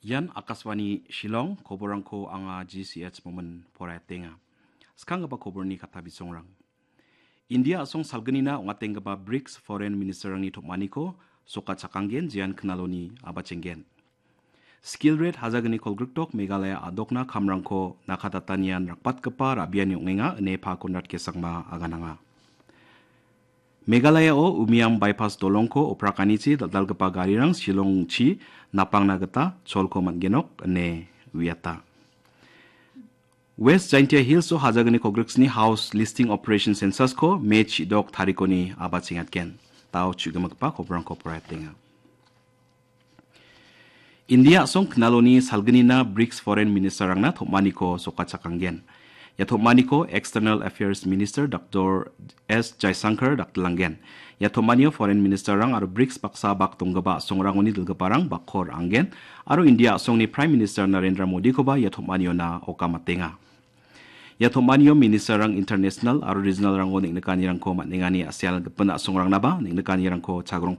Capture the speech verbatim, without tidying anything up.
Ian Akashvani Shillong, koborangko anga G C H Momin poraetenga. Skanggipa koborni kata bisongrang. India a·song salgnina ong·atenggipa brics Foreign Ministerrangni tom·aniko sokachakanggen, jean knaloni abachenggen. Skill rate hajagni kolgrikdok Meghalaya a·dokna kamrangko nakatatanian rakbatgipa ra·biani ong·enga ine Pa Konrad K Sangma agananga. Meghalayao Umiam Bypass dolongko oprakanichi dal·dalgipa garirang Shillongchi napangna gita cholko man·genok ine uiata. West Jaintia Hills-o hajagni kolgriksni house listing operation census-ko May chidok tarikoni abachengatgen. Tao chu·gimigipa koborangko poraetenga. India a·song knaloni salgnina brics Foreign Ministerrangna tom·aniko sokachakanggen. Ia tom·aniko External Affairs Minister Doctor S Jaishankar dakdilanggen. Ia tom·anio Foreign Ministerrang aro brics baksa bak donggipa a·songrangoni dilgiparang bakko ra·anggen aro India a·songni Prime Minister Narendra Modikoba ia tom·aniona okamatenga. Ia tom·anio ministerrang international aro regionalrango neng·nikanirangko man·engani a·sel gipin a·songrangnaba neng·nikanirangko chagrongpa